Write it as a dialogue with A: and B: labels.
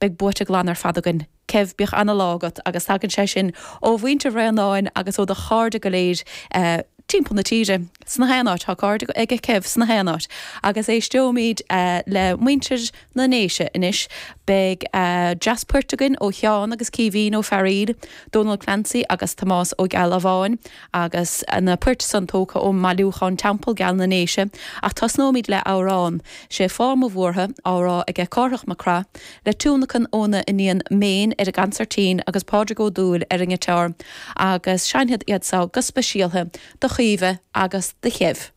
A: Beidh buaite glan ar fad againn. Kev, bíodh ana-lá agat agus tagann sé sin ó mhuintir Bhraonáin agus ó do chairde go léir timpeall na tíre. Sna haon áit, tá cairde aige Kev sna haon áit. Agus éisteoimid le muintir na nDéise anois. Beidh dreas poirt againn ó Sheán agus Caoimhín Ó Fearaíl, Dónal Clancy agus Tomás Ó Gealbháin agus na poirt san tógtha ón mbailiúchán Teampall Geal na nDéise. Ach tosnóimid le amhrán. Sé Fáth Mo Bhuartha, á rá aige Cárthach Mac Craith, le tionlacan óna iníon Méin ar an gcansairtín agus Pádraig Ó Dúill ar an ngiotár, agus seinnfead iad so go speisialtha do Chaoimhe agus do Kev.